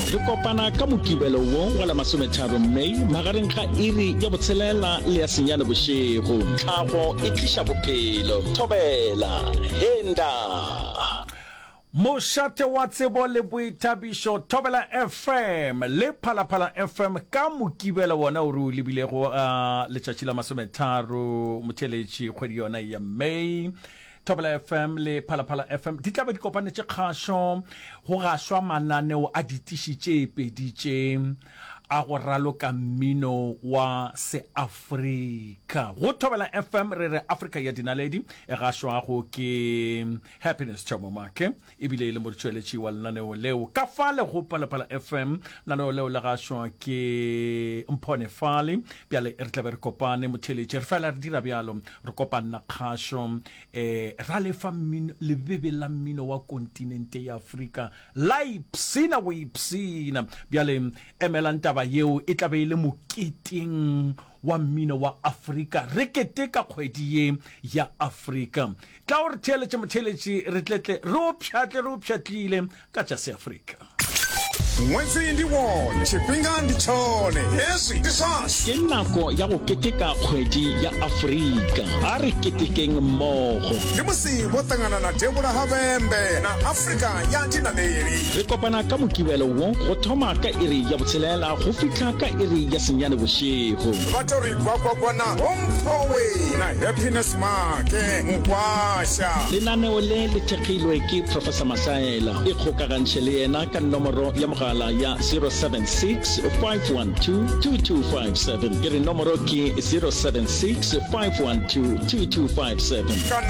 Re kopana ka Mokibelo wo wa la masometharo May magareng ga iri ya botshelela le ya senyane bošego. Tlhago e tliša bophelo. Thobela. Henda. Mošate wa tsebo le boithabišo Thobela FM le Phalaphala FM ka Mokibelo wona o re o lebilego a letšatši la masometharo motheeletši kgwedi yona ya May. Thobela FM le Phalaphala FM di tla be di kopanetše kgašo go gašwa mananeo a ditiši tše pedi tše a go raloka mmino wa Seafrika. Go Thobela FM re re Afrika ya Dinaledi e gašwago ke Happiness Thomo Make ebile e le motšweletši wa lenaneo leo. Ka fale go Phalaphala FM lenaneo leo le gašwa ke Mphone Fale. Bjale re tla be re kopane motheeletši, re fela re dira bjalo, re kopanna kgašo um ra lefa mmino, lebebe la mmino wa kontinente ya Afrika la ipshina go ipshina. Bjale emelang taba yeo, e tla be e le moketeng wa mmino wa Afrika, re keteka kgwedi ye ya Afrika. Tla o re theeletše motheeletši, re tle tle re o pšhatle re o pšhatlile ka tša Seafrika. Ṅwedzi ndi wone, tshifhinga ndi tshone, hezwi ndi zwashu. Ke nako ya go keteka kgwedi ya Afrika. A re ketekeng mmogo. Ndi musi vho ṱangana na Devhula ha Vhembe na Afrika ya Dinaleli. Re kopana ka Mokibelo wo go thoma ka iri ya botshelela go fihla ka iri ya senyane bošego. Vha tou ri gwagwagwa na Vho Mphowe na Happiness Maake Mukwasha. Lenaneo le le thekgilwe ke Professor Masaela. Ikgokagantšhe le yena ka nomoro ya mogala ya 076 512 2257. Ke re nomoro ke 076 512 2257. Kana.